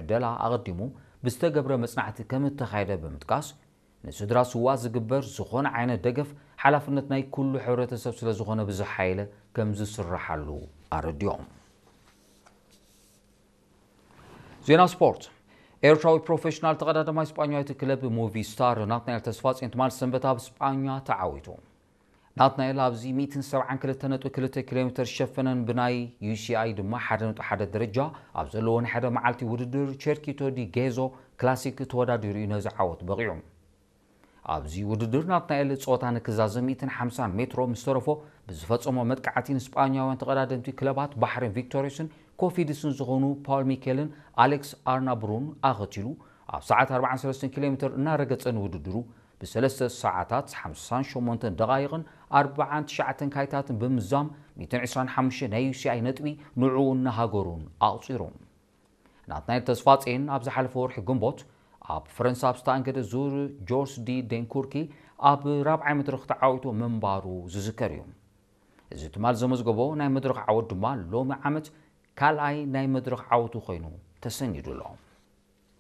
ዕደላ ኣቐዲሙ ብዝተገብረ መጽናዕቲ ከም እተኻየደ ብምጥቃስ፣ ንስድራ ስዋ ዝግበር ዝኾነ ዓይነት ደገፍ ሓላፍነት ናይ ኩሉ ሕብረተሰብ ስለ ዝኾነ ብዝሓየለ ከም ዝስራሓሉ ኣረዲኦም። ዜና ስፖርት። ኤርትራዊ ፕሮፌሽናል ተቐዳዳማይ ስጳኛዊት ክለብ ሙቪ ስታር ናትናኤል ተስፋጽዮን ትማል ሰንበት ኣብ ስጳኛ ተዓዊቱ። ናትናኤል ኣብዚ ሚእትን ሰብዓን ክልተ ነጥቢ ክልተ ኪሎ ሜተር ዝሸፈነን ብናይ ዩ ሲ ኣይ ድማ ሓደ ነጥቢ ሓደ ደረጃ ኣብ ዘለዎ ናይ ሓደ መዓልቲ ውድድር ቸርኪቶ ዲ ጌዞ ክላሲክ ተወዳዲሩ እዩ ነዚ ዓወት በቒዑ። ኣብዚ ውድድር ናትናኤል ጸወታ ንክዛዘም ሚእትን ሓምሳን ሜትሮ ምስ ተረፎ ብዝፈጸሞ መጥቃዕቲ ንስጳኛውያን ተቐዳደምቲ ክለባት ባሕሬን ቪክቶሪየስን ኮፊድስን ዝኾኑ ፓውል ሚኬልን ኣሌክስ ኣርናብሩን ኣኸቲሉ ኣብ ሰዓት ኣርባዓን ሰለስተን ኪሎ ሜተር እናረገጸ ንውድድሩ ብሰለስተ ሰዓታት ሓምሳን ሸሞንተን ደቓይቕን ኣርባዓን ትሽዓተን ካይታትን ብምዛም ሚእትን ዕስራን ሓሙሽተን ናይ ዩ ሲ ኣይ ነጥቢ ንዕኡን ንሃገሩን ኣቑጺሩ። ናትናኤል ተስፋጽዮን ኣብ ዝሓለፈ ወርሒ ግንቦት ኣብ ፈረንሳ ኣብ ዝተኣንገደ ዙር ጆርስ ዲ ዴንኩርኪ ኣብ ራብዓይ መድረኽ ተዓዊቱ ምንባሩ ዝዝከር እዩ። እዚ ትማል ዘመዝገቦ ናይ መድረኽ ዓወት ድማ ሎሚ ዓመት ካልኣይ ናይ መድረኽ ዓወቱ ኮይኑ ተሰኒዱ ኣሎ።